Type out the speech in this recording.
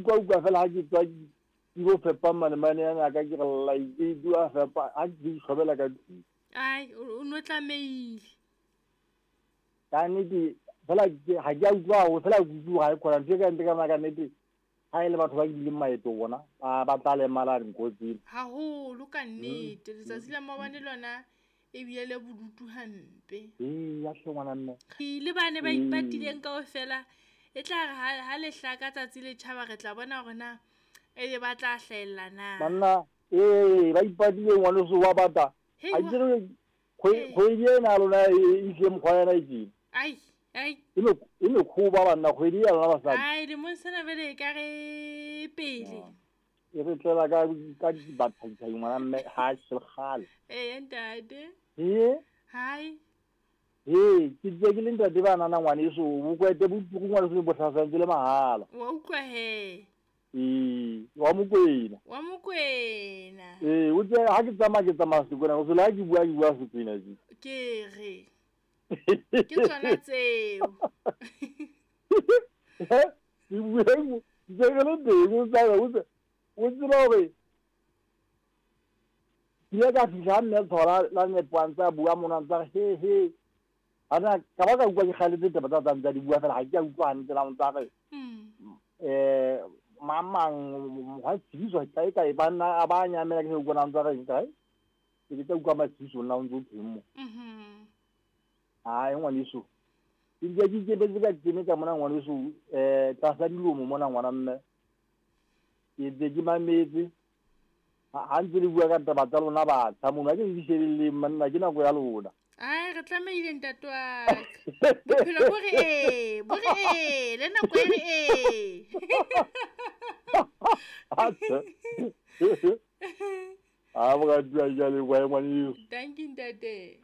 Utlwa utlwa fela ha ke tswa ke ilo fepa manemane ana a ka ke re lla ke a fepa ha ke itlhobela ka tlung. Ai, o no tlamehile. Ka nnete fela ga ke a utlwa haholo fela ke utlwa ga e khona ntho e ka ntle ka ka nnete ha e le batho ba kileng maeto bona ba ba tla lemala nko tsena. Haholo ka nnete letsatsi la maobane lona e bile le bodutu hampe. Ee, ya hle ngwana mme. Le bane ba ipatileng kaofela e tla re ha le hlaka tsatsi le tjhaba re tla bona hore na ebe ba tla hlahella na. Banna ee ba ipatile ngwaneso wa bata. A ke re kgwedi ena ya lona e tlile mokgwa yona e tjena. Ai ai. E mekhoba banna kgwedi ya lona basadi. Ai lemong sena jwale e ka re pele. E re tlela ka dibathaithai ngwana mme ha se kgale. Ee ntate. Ee. Hai. Ee, ke tse ke le ntate ba nana ngwaneso, bokwete bo tuku ngwaneso bo hlasantse le mahala. Wa utlwa he. Ee, wa Mokwena. Wa Mokwena. Ee, o tse ha ke tsamaya ke tsamaya Sekwena, o sele ha ke bua ke bua Sekwena je. Ke re. Ke tsona tseo. Ke bua ke ke le teng o tsaya o tse o tseba hore ke ile ka fihla ha mme Tshola la nepo a ntse a bua mona a ntse a re he he. Ana ka ba ka utlwa ke kgaletse taba tsa tsa di bua fela ga ke a utlwa hantle la ntse a re mang mang mokgwa tshibiso kae kae ba nna a ba nyamela ke se utlwa ntse a reng kae ke tla utlwa matshibiso nna o ntse o thweng mo. Ai ngwaneso ke ntse ke ikemetse ka kene ka mona ngwaneso tlasa dilomo mona ngwana mme ke ntse ke mametse ha ntse le bua ka taba tsa lona batjha mono ha ke di shebelleng manna ke nako ya lona. Ai re tlamehile ntate wa ka. Bophelo bo re ee, bo re ee, le nako e re ee. A moratuwa ke a leboha ngwaneso. Thank you ntate.